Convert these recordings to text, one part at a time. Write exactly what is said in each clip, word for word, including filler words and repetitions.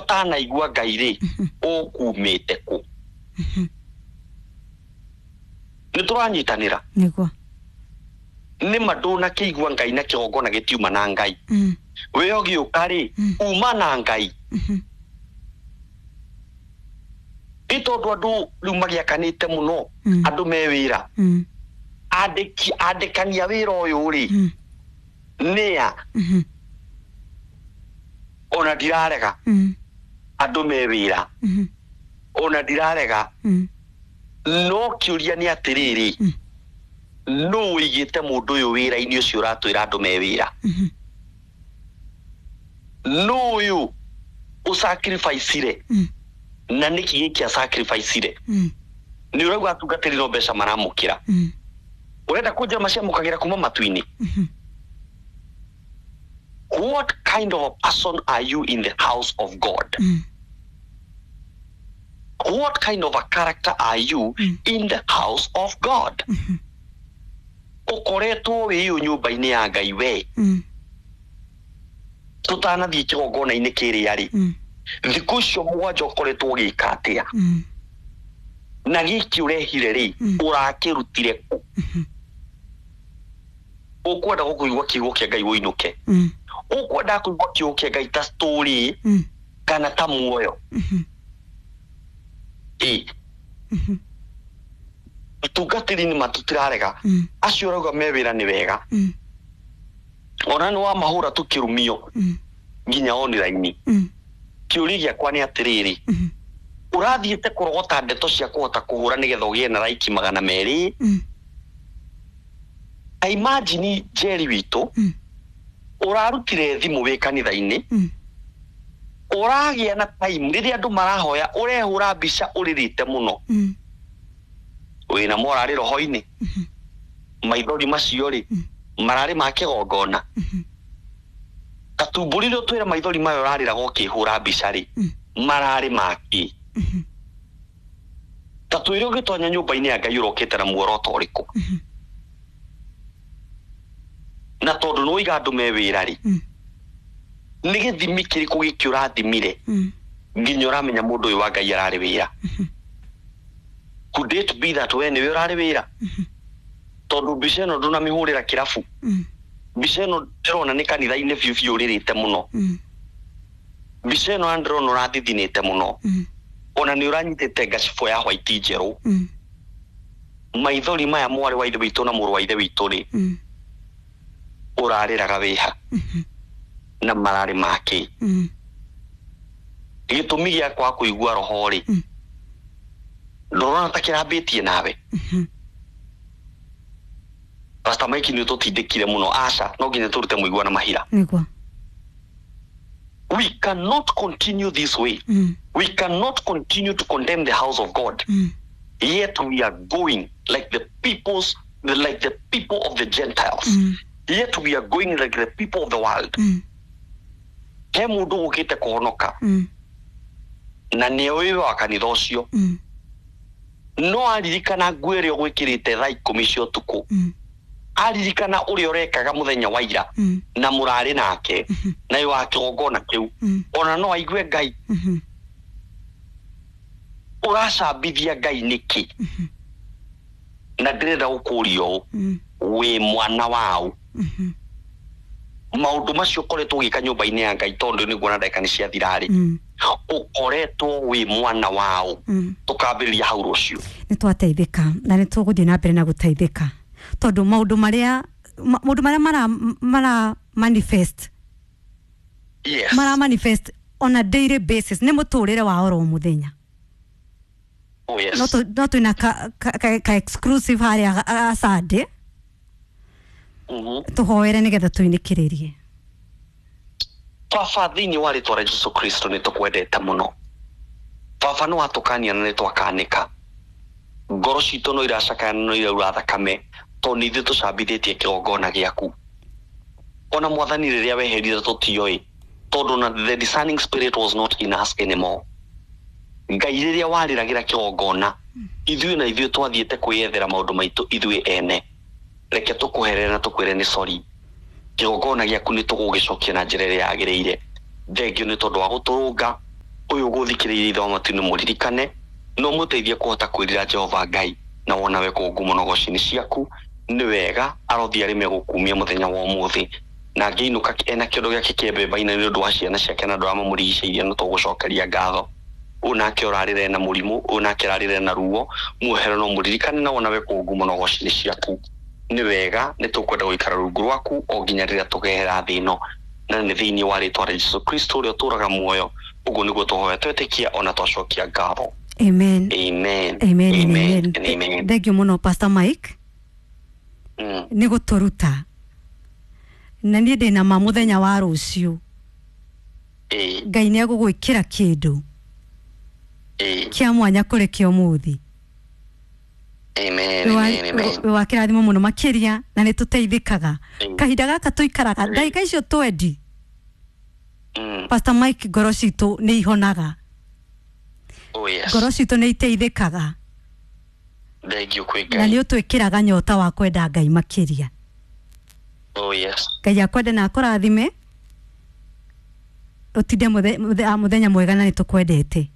Ũtanaigua Ngai rĩ, ũkumĩte kũ? Nĩ tũranyitanĩra? Nĩguo. Nĩ ma ndũnakĩigua Ngai na kĩgongona gĩtiuma na Ngai. Mm. We ũgĩũka rĩ, Mm. uma na Ngai. Mhm. Nĩ tondũ andũ rĩu magĩakanĩte mũno, Mm. andũ me wĩra, Mm. andĩki andĩkania wĩra ũyũ rĩ, Mm. nĩa? Mhm. Ona ndirarega Mm. andũ me wĩra, Mhm. ona ndirarega, Mm. no kĩũria nĩ atĩrĩrĩ, Mm. nũ ũigĩte mũndũ ũyũ wĩra-inĩ ũcio ũratwĩra andũ me wĩra? Mhm. Nũ ũyũ ũsacrificire? Mm. Na nĩkĩ gĩkĩ asacrificire? Mm. Nĩ ũrauga atungatĩri no mbeca maramũkĩra. Mm. Ũrenda kũnjĩra maciamũkagĩra kuma matu-inĩ? Mhm. What kind of a person are you in the house of God? Mm. What kind of a character are you Mm. in the house of God? Mhm. Ũkoretwo wĩ ũyũ nyũmba-inĩ ya Ngai we, Mm. tũtanathiĩ kĩgongona-inĩ kĩrĩa rĩ, Mm. thikũ icio mũgwanja ũkoretwo ũgĩka atĩa? Mm. Na gĩkĩ ũrehire rĩ, Mm. ũrakĩrutire kũ? Mhm. Ũkwenda gũkũigua kiugo kĩa Ngai ũinũke? Mm. Ũkwenda kũigua kiugo kĩa Ngai ta story Mm. kana ta muoyo? Mhm. Ĩ, Mhm. atungatĩri nĩ matũtirarega. Mm. Acio ũrauga me wĩra nĩ wega, Mm. ona nĩ wamahũra tũkĩrumio Mm. nginya online. Mm. Kĩũria gĩakwa nĩ atĩrĩrĩ, Mhm. ũrathiĩte kũrogota ndeto cia kũhota kũhũra nĩgetha ũgĩe na like magana merĩ? Mm. Ta imagine, Jerry witũ, Mm. ũrarutire thimũ wĩ kanitha-inĩ, Mm. ũragĩa na time rĩrĩa andũ marahoya, ũrehũra mbica ũrĩrĩte mũno. Mm. Wĩna morarĩ roho-inĩ? Mhm. Maithori macio rĩ, Mm. mararĩ ma kĩgongona? Mhm. Gatumbũrire ũtwĩre maithori mayo ũrarĩraga ũkĩhũra mbica rĩ, Mm. mararĩ makĩ? Mhm. Ta twĩre, ũgĩtonya nyũmba-inĩ ya Ngai ũrokĩte na muoroto ũrĩkũ? Mhm. Na tondũ nĩ waiga andũ me wĩra rĩ, Mm. nĩ gĩthimi kĩrĩkũ gĩkĩ ũrathimire Mm. nginya ũramenya mũndũ ũyũ wa Ngai ararĩ wĩra? Mhm. Could it be that we nĩwe ũrarĩ wĩra? Mhm. Tondũ mbica ĩno ndũnamĩhũrĩra kĩrabu. Mm. Mbica ĩno ndĩrona nĩ kanitha-inĩ biũ biũ ũrĩrĩte mũno. Mm. Mbica ĩno ndĩrona ũrathithinĩte mũno. Mm. Ona nĩ ũranyitĩte ngacibũ ya white njerũ. Mm. Maithori maya, mwarĩ wa ithe witũ na mũrũ wa ithe witũ rĩ, Mm. ũrarĩraga wĩha? Mhm. Na mararĩ makĩ? Mm. Gĩtũmi gĩa kwaga kũigua roho rĩ, Mm. ndũrona ta kĩrambĩtie nawe? Mhm. Pastor Mike, nĩ ũtũtindĩkire mũno. Aca, no nginya tũrute mũigua na mahira. Nĩguo. We cannot continue this way. Mm. We cannot continue to condemn the house of God, Mm. yet we are going like the peoples like the people of the Gentiles, Mm. yet we are going like the people of the world. Mm. He mũndũ ũkĩte kũhonoka Mm. na nĩ ũĩ wa kanitha ũcio, Mm. no aririkana nguo ĩrĩa ũgwĩkĩrĩte thaa ikũmi cia ũtukũ, Mm. aririkana ũrĩa ũrekaga mũthenya wa ira Mm. na mũrarĩ nake Mhm. na ĩ wa kĩgongona kĩu, Mm. ona no aigue Ngai. Mhm. Ũracambithia Ngai nĩkĩ? Mhm. Na ndĩrenda gũkũria ũũ, Mm. wĩ mwana waũ? Mhm. Maũndũ macio ũkoretwo ũgĩka nyũmba-inĩ ya Ngai, tondũ nĩguo na ndagĩka nĩ ciathira rĩ, Mm. ũkoretwo wĩ mwana waũ? Mm. Tũkambĩrĩria hau rũciũ. Nĩ twateithĩka na nĩ tũgũthiĩ na mbere na gũteithĩka, tondũ maũndũ marĩa ma- maũndũ marĩa mara, mara manifest, yes mara manifest on a daily basis, nĩ mũtũrĩre wa oro mũthenya. Oh, yes. No tũ- no twĩna ka, ka, ka, ka exclusive harĩa a- Sunday. Mhm. Tũhoere nĩgetha tũinĩkĩrĩrie. Baba, thĩinĩ wa rĩtwa rĩa Jesu Kristo, nĩ tũkwendete mũno. Baba, nĩ watũkania na nĩ twakanĩka. Ngoro citũ no iracakaya na no iraura thakame, tondũ nĩ ithuĩ tũcambithĩtie kĩgongona gĩaku. Ona Mwathani, rĩrĩa weherire tũtioĩ, tondũ na the discerning spirit was not in us anymore. Ngai, rĩrĩa warĩragĩra kĩgongona, ithuĩ na ithuĩ twathiĩte kwĩyethera maũndũ maitũ ithuĩ ene. Reke tũkũherere na tũkwĩre nĩ sorry. Kĩgongona gĩaku nĩ tũgũgĩcokia na njĩra ĩrĩa yagĩrĩire. Thengio nĩ tondũ wa gũtũrũnga. Ũyũ ũgũthikĩrĩirie ithe wa matu-inĩ mũririkane no mũteithie kũhota kwĩrira Jehova Ngai na wona we kũu ngumo na ũgoci-inĩ ciaku. Nĩ wega arothiĩ arĩme gũkumia mũthenya wa ũmũthĩ na angĩinũka ena kĩondo gĩake kĩa mbembe-inĩ nĩ ũndũ wa ciana ciake na andũ arĩa mamũrigicĩirie no tũgũcokeria ngatho. Ũyũ nake ũrarĩra ena mũrimũ, ũyũ nake ũrarĩra ena ruo, muohere no mũririkane na wona we kũu ngumo na ũgoci-inĩ ciaku. Nĩ wega nĩ tũkwenda gũikara rungu rwaku o nginya rĩrĩa tũgehera thĩ ĩno, na nĩ thĩinĩ wa rĩtwa rĩa Jesũ Kristo ũrĩa ũtũũraga muoyo. Ũguo nĩguo tũhoya twetĩkia ona twacokia ngatho. Amen. Amen. Amen. Amen. Amen. Amen. Thank you muno Pastor Mike. Mm. Nĩ gũtũruta na niĩ ndĩna ma mũthenya wa rũciũ Ĩĩ. Ngai nĩ egũgwĩkĩra kĩndũ Ĩĩ. kĩa mwanya kũrĩ kĩa ũmũthĩ. Amen. Amen. Amen. Wĩ wa kĩrathimo mũno makĩria na nĩ tũteithĩkaga Ĩĩ. kahinda gaka tũikaraga ndagĩka icio twendi. Mm. Pastor Mike, ngoro citũ nĩ ihonaga. Oh yes. Ngoro citũ nĩ iteithĩkaga. Thank you kwĩ Na Ngai. nĩ ũtwĩkĩraga nyota wa kwenda Ngai makĩria. Oh yes. Ngai akwende na akũrathime, ũtinde mũthe- mũthe- mũthenya mwega na nĩ tũkwendete.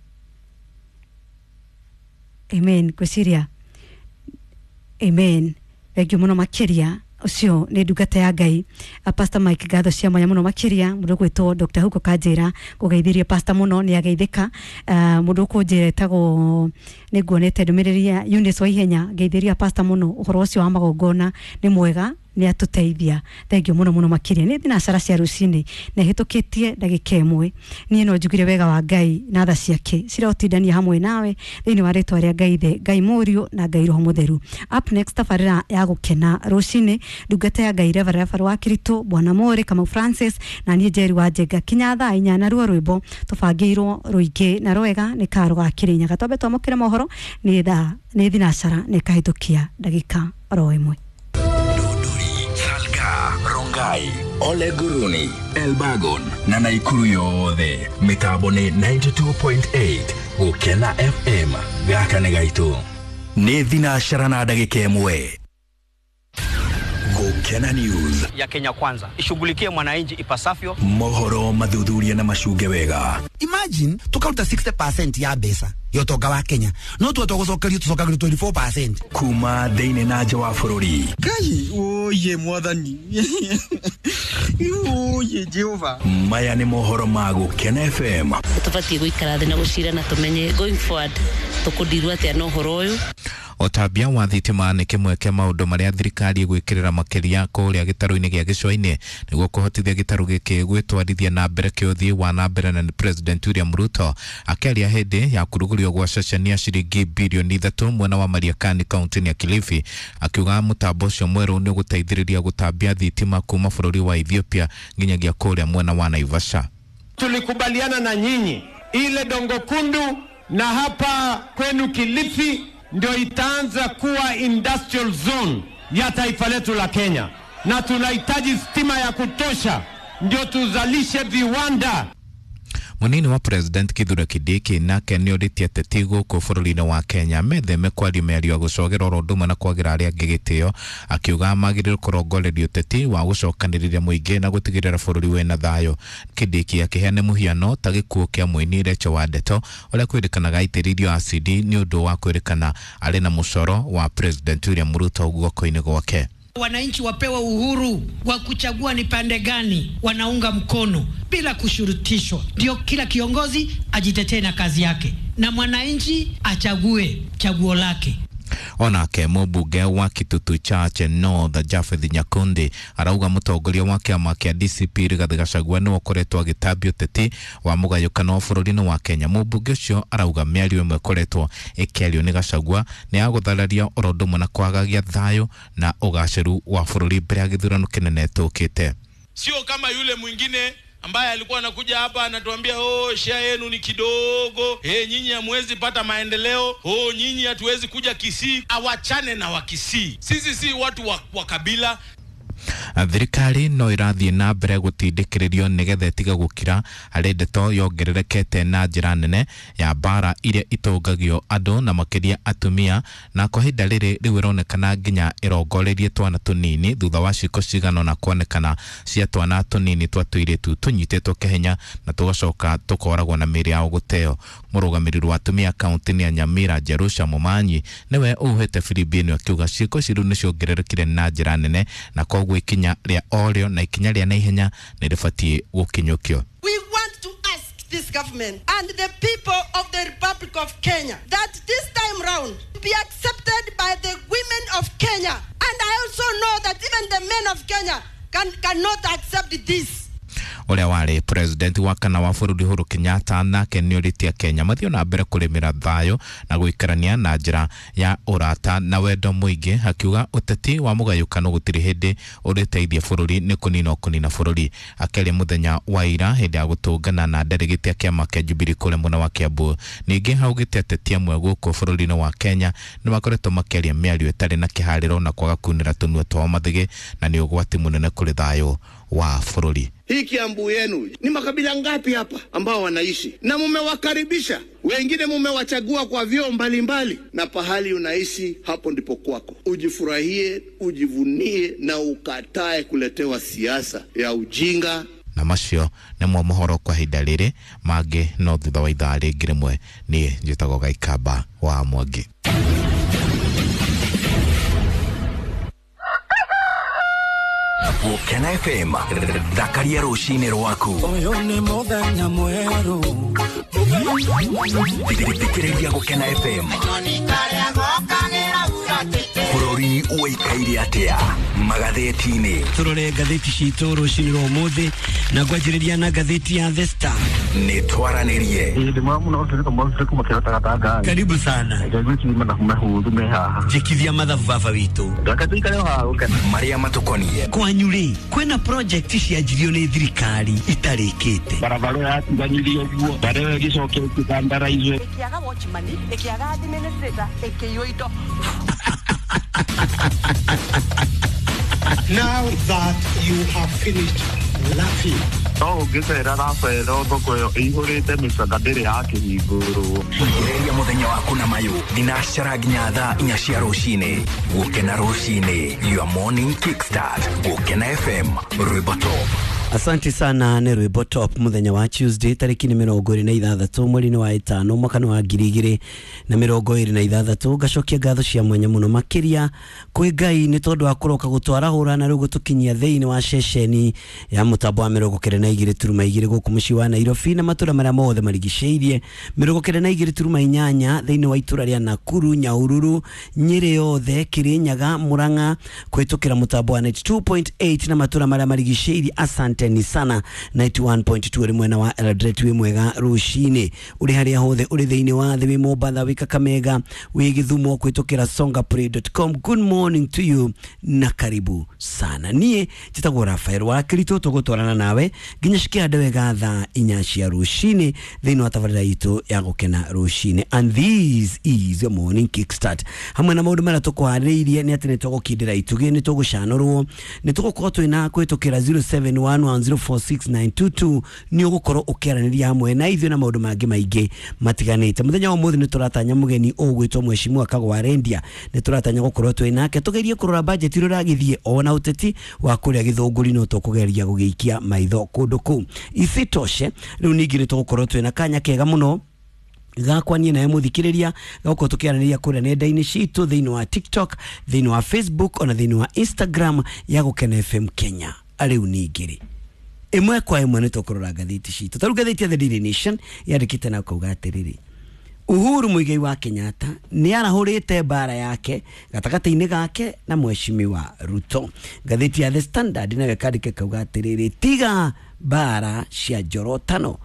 Amen. Ngwĩciria amen. Thank you mũno makĩria. Ũcio nĩ ndungata ya Ngai a Pastor Mike, ngatho cia mwanya mũno makĩria. Mũndũ ũgwĩtwo Doctor Hugo Kanjĩra kũgeithĩria pastor mũno, nĩ ageithĩka. uh, mũndũ ũkũnjĩra etagwo nĩ nguonete ndũmĩrĩri ya Eunice wa ihenya, ngeithĩria pastor mũno, ũhoro ũcio wa magongona nĩ mwega, nĩ atũteithia. Thank you mũno mũno makĩria. Nĩ thinacara cia rũcinĩ na ĩhĩtũkĩtie ndagĩka ĩmwe. Niĩ no njugire wega wa Ngai na tha ciake cirotindania hamwe nawe thĩinĩ wa rĩtwa rĩa Ngai Ithe, Ngai Mũriũ na Ngai Roho Mũtheru. Up next, tabarĩra ya gũkena rũcinĩ, ndungata ya Ngai Reverend Rafael wa Kiritũ, Bwana Mũrĩ Kamau Francis na niĩ Njeri wa Njenga kinya thaa inya. Na ruo rwĩmbo tũbangĩirwo rũingĩ na rwega nĩ karo ga Kĩrĩnyaga. Twambe twamũkĩre mohoro. Nĩ thaa nĩ thinacara nĩ kahĩtũkia ndagĩka oro ĩmwe. Salga, Rongai, Ole Guruni, Elbagon na Naikuru yothe. Mitambo nĩ ninety two point eight Gũkena F M. Gaka nĩ gaitũ. Nĩ thinacara na ndagĩka ĩmwe. Gũkena News ya Kenya Kwanza ishughulikie mwananchi ipasavyo. Mohoro mathuthuria na macunge wega. Imagine tukaruta sixty percent ya mbeca ya ũtonga wa Kenya, no tuwe tũgũcokerio tũcokagĩrio twenty four percent. Kuma thĩinĩ na nja wa bũrũri. Ngai oye mwathani, oye Jehova. Maya nĩ mohoro ma Gũkena F M. Tũbatiĩ gũikara thĩ na gũcira na tũmenye going forward tũkũndirwo atĩa na ũhoro ũyũ. Ũtambia wa thitima nĩ kĩmwe kĩa maũndũ marĩa thirikari ĩgwĩkĩrĩra makĩria kũrĩa gĩtarũ-inĩ gĩa Gĩcũa-inĩ nĩguo kũhotithia gĩtarũ gĩkĩ gwĩtwarithia na mbere kĩũthiĩ wa na mbere. Na nĩ President William Ruto akĩaria hĩndĩ ya kũrugũrio gwa ceceni ya ciringi birioni ithatũ mwena wa Mariakani kaunti-inĩ ya Kilifi, akiuga mũtambo ũcio mwerũ nĩ ũgũteithĩrĩria gũtambia thitima kuma bũrũri wa Ethiopia nginyagia kũrĩa mwena wa Naivasha. Tulikubaliana na nyinyi ile Dongo Kundu na hapa kwenu Kilifi ndio itaanza kuwa industrial zone ya taifa letu la Kenya, na tunahitaji stima ya kutosha ndio tuzalishe viwanda. Munini wa President Kithure Kindiki nake nĩorĩtie ateti gũkũ bũrũri-inĩ wa Kenya metheme kwaria mĩario ya gũcogera oro ũndũ ũmwe na kwagĩra arĩa angĩ gĩtĩo, akiuga magĩrĩirwo kũrongoreria ũteti wa gũcokanĩrĩria mũingĩ na gũtigĩrĩra bũrũri wĩna thayũ. Kindiki akĩheana mũhiano ta gĩkuũ kĩa mũini Rachel Wandeto ũrĩa kwĩrĩkanaga aitĩrĩirio acidi nĩ ũndũ wa kwĩrĩkana arĩ na mũcoro wa President William Ruto guoko-inĩ gwake. Wananchi wapewe uhuru wa kuchagua ni pande gani wanaunga mkono bila kushurutishwa. Ndio kila kiongozi ajitetee na kazi yake na mwananchi achague chaguo lake. Onake mũmbunge wa Kitutu Chache North Japheth Nyakundi arauga mũtongoria wa kĩama kĩa D C P Rigathi Gachagua nĩwe ũkoretwo agĩtambia ũteti wa mũgayũkano wa bũrũri-inĩ wa Kenya. Mũmbunge ũcio arauga mĩario ĩmwe ĩkoretwo ĩkĩario nĩ Gachagua nĩ ya gũthararia oro ũndũ ũmwe na kwagagia thayũ na ũgacĩru wa bũrũri mbere ya gĩthurano kĩnene tũkĩte. Sio kama yule mwingine ambaye alikuwa anakuja hapa anatuambia oh, share yenu ni kidogo, eh, nyinyi hamwezi pata maendeleo, oh, nyinyi hatuwezi kuja Kisii. Awachane na wa Kisii. Sisi si watu wa, wa kabila. Thirikari no ĩrathiĩ na mbere gũtindĩkĩrĩrio nĩgetha ĩtige gũkira harĩ ndeto yongererekete na njĩra nene ya mbara iria itũngagio andũ na makĩria atumia, na kwa ihinda rĩrĩ rĩu ĩronekana nginya ĩrongoreirie twana tũnini thutha wa ciĩko cigana ũna kuonekana cia twana tũnini twa tũirĩtu tũnyitĩtwo kĩhenya na tũgacoka tũkoragwo na mĩĩrĩ yao gũteo. Mũrũgamĩrĩri wa atumia kaunti-inĩ ya Nyamira Jerusha Momanyi nĩwe ũhuhĩte firimbi ĩno akiuga ciĩko ici rĩu nĩciongererekire na njĩra nene na koguo ikinya rĩa orĩo na ikinya rĩa naihenya nĩ rĩbatiĩ gũkinyũkio. We want to ask this government and the people of the Republic of Kenya that this time round be accepted by the women of Kenya. And I also know that even the men of Kenya can, cannot accept this. Ũrĩa warĩ president wa kana wa bũrũri Uhuru Kenyatta nake nĩorĩtie Kenya mathiĩ na mbere kũrĩmĩra thayũ na gũikarania na njĩra ya ũrata na wendo mũingĩ, akiuga ũteti wa mũgayũkano gũtirĩ hĩndĩ ũrĩteithia bũrũri nĩ kũnina kũnina bũrũri. Akĩaria mũthenya wa ira hĩndĩ ya gũtũngana na delegate ya kĩama kĩa Jubilee kũrĩa mwena wa Kiambu, ningĩ augĩte ateti amwe gũkũ bũrũri-inĩ wa Kenya nĩ makoretwo makĩaria mĩario ĩtarĩ na kĩharĩro na kwaga kunĩra tũnua twao mathĩgĩ na nĩ ũgwati mũnene kũrĩ thayũ wa bũrũri. Hii Kiambu yenu ni makabila ngapi hapa ambao wanaishi na mumewakaribisha, wengine mumewachagua kwa vyoo mbalimbali, na pahali unaishi hapo ndipo kwako. Ujifurahie, ujivunie na ukatae kuletewa siasa ya ujinga. Na macio nĩmo mohoro kwa ihinda rĩrĩ, mangĩ no thutha wa ithaa rĩngĩ rĩmwe. Niĩ njĩtagwo Gaikamba wa Mwangi. Gũkena F M, thakaria rũcinĩ rwaku. Ũyũ nĩ mũthenya mwerũ. Thikĩrĩria Gũkena F M. Bũrũri ũikaire atĩa magathĩti-inĩ? Tũrore ngathĩti citũ rũcinĩ rwa ũmũthĩ na ngwanjĩrĩria na ngathĩti ya The Star. Nĩ twaranĩrie. Karibu sana. Njĩkithia mathabu baba witũ. Marĩa matũkoniĩ. Kwanyu rĩ, kwĩna project cianjirio nĩ thirikari itarĩkĩte. Barabara yatiganirio ũguo, barabara ĩyo ĩgĩcoka ĩkĩthandaraizwo. Ĩkĩaga watchman, ĩkĩaga administrator, ĩkĩiywo indo. Now that you have finished laughing. No ũngĩcera Rafael thoko ĩyo ĩihũrĩte mĩcaka ndĩrĩ yakĩhingũrwo. Ambĩrĩria mũthenya waku na mayũ thinacara nginya thaa inya cia rũcinĩ. Gũkena rũcinĩ, your morning kickstart. Gũkena F M, rwĩmbo top. Asante sana nĩ rwĩmbo top mũthenya wa Tuesday tarĩki nĩ mĩrongo ĩrĩ na ithathatũ mweri-inĩ wa ĩtano mwaka wa ngiri igĩrĩ na mĩrongo ĩrĩ na ithathatũ. Ngacokia ngatho cia mwanya mũno makĩria kwĩ Ngai nĩ tondũ wa kũroka gũtwarahũra na rĩu gũtũkinyia thĩinĩ wa ceceni ya mũtambo wa mĩrongo kenda na igĩrĩ turuma igĩrĩ gũkũ mũciĩ wa Nairobi na matũra marĩa mothe marigicĩirie, mĩrongo kenda na igĩrĩ turuma inyanya thĩinĩ wa itũra rĩa Nakuru, Nyahururu, Nyĩrĩ yothe, Kirinyaga, Murang'a kũhĩtũkĩra mũtambo wa ninety two point eight na matũra marĩa marigicĩirie. Asante ni sana. Ninety one point two uri mwena wa Eldoret wi mwega rucini uri haria hothe uri thiini wa thi wi Mombatha wi Kakamega wi Githumo kwitukira songaplay dot com. Good morning to you na karibu sana. Nie njitagwo Rafael wa Kirito, tugutwarana nawe nginya cikihande wega thaa inya cia rucini thiini wa tabarira itu ya gukena rucini. And this is your morning kickstart hamwe na maundu maria tukwariirie ni ati ni tugukindira itugi ni tugucanurwo ni tugukorwo twina kwitukira zero seven one one zero four six nine two two ni ugukorwo ukiaraniria hamwe na ithuĩ na maundu mangi maingi matiganite. Muthenya wa muthi ni turatanya mugeni ugwitwo Mheshimiwa Kagwa Rendia, ni turatanya gukorwo twi nake tugerie kurora budget iria iragithie ona uteti wa kuria Githunguri no tukugeria gugiikia maitho kundu kuu. Isitoshe riu ningi ni tugukorwo twina kanya kega muno gakwa niĩ nawe mũthikĩrĩria gagũkorwo tũkĩaranĩria kũrĩa nenda-inĩ citũ thĩinĩ wa TikTok, thĩinĩ wa Facebook ona thĩinĩ wa Instagram ya Gũkena F M Kenya. Rĩu ningĩ rĩ ĩmwe kwa ĩmwe nĩ tũkũrora ngathĩti citũ. Ta rĩu ngathĩti ya The Daily Nation yandĩkĩte na kauga atĩrĩrĩ, Uhuru Muigai wa Kenyatta nĩ arahũrĩte mbara yake gatagatĩ-inĩ gake na Mheshimiwa Ruto. Ngathĩti ya The Standard nayo ĩkandĩka kauga atĩrĩrĩ, tiga Bara cia njorotano.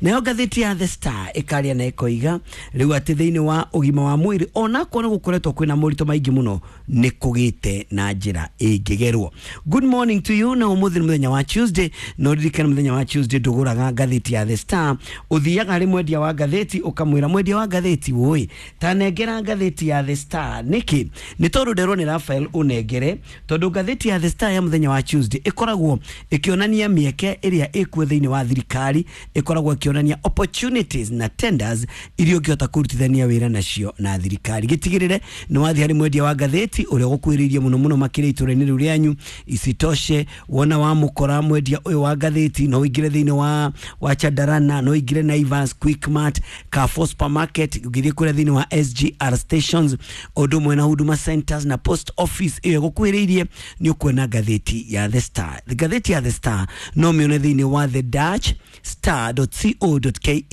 Nayo ngathĩti ya The Star ĩkaria na ĩkoiga rĩu atĩ thĩinĩ wa ũgima wa mwĩrĩ onakorwo nĩ gũkoretwo kwĩna moritũ maingĩ mũno nĩ kũgĩte na njĩra ĩngĩgerwo. Good morning to you. Na ũmũthĩ nĩ mũthenya wa Tuesday, no ririkana mũthenya wa Tuesday ndũgũraga ngathĩti ya The Star, ũthiaga harĩ mwendia wa ngathĩti ũkamwĩra mwendia wa ngathĩti wũi tanengera ngathĩti ya The Star. Nĩkĩ? Nĩ tondũ nderwo nĩ Raphael ũnengere, tondũ ngathĩti ya The Star ya mũthenya wa Tuesday ĩkoragwo ĩkĩonania mĩeke ĩrĩa ĩkuo thĩinĩ wa thirikari, ĩkoragwo ĩkĩonania opportunities na tenders iria ũngĩhota kũrutithania wĩra nacio na thirikari. Gĩtigĩrĩre nĩ wathiĩ harĩ mwendia wa ngathĩti ũrĩa ũgũkuhĩrĩirie mũno mũno makĩria itũra-inĩ rĩu rĩanyu. Isitoshe wona wamũkora mwendia ũyũ wa ngathĩti no ũingĩre thĩinĩ wa wa Chandarana, no ũingĩre Naivas, Quickmart, Carrefour supermarket, ũngĩthiĩ kũrĩa thĩinĩ wa S G R stations, ũndũ ũmwe na Huduma centers na post office ĩyo ĩgũkuhĩrĩirie, nĩ ũkuona ngathĩti ya The Star. Ngathĩti ya The Star no mĩone thĩinĩ wa the dash star dot co dot ke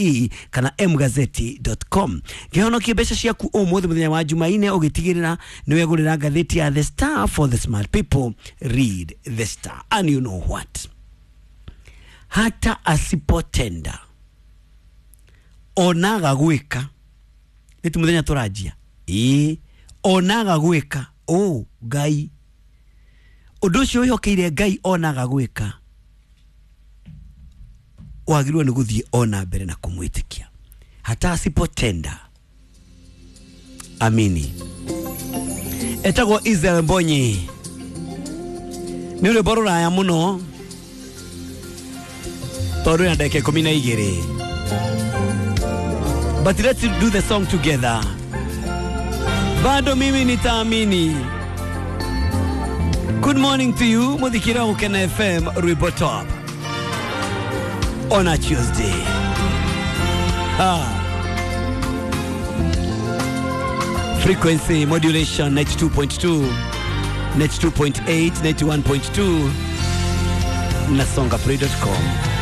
kana m gazeti dot com. Kĩhonokie mbeca ciaku ũmũthĩ mũthenya wa Jumaine ũgĩtigĩrĩra nĩ wegũrĩra ngathĩti ya The Star. For the smart people, read The Star. And you know what, hata asipotenda onaga gwĩka nĩ ti mũthenya tũranjia ĩĩ, onaga gwĩka ũ Ngai ũndũ ũcio wĩhokeire Ngai onaga gwĩka wagĩrĩirwo nĩ gũthiĩ ona mbere na kũmwĩtĩkia. Hata asipotenda amini. Etagwo Israel Mbonyi, nĩ rwĩmbo rũraya mũno tondũ rwĩna ndagĩka ikũmi na igĩrĩ, but let's do the song together. Bado mimi nitaamini. Good morning to you muthikira Gukena F M rwĩmbo top on a Tuesday. Ah. Frequency modulation ninety-two point two, ninety-two point eight, ninety-one point two na songa play dot com.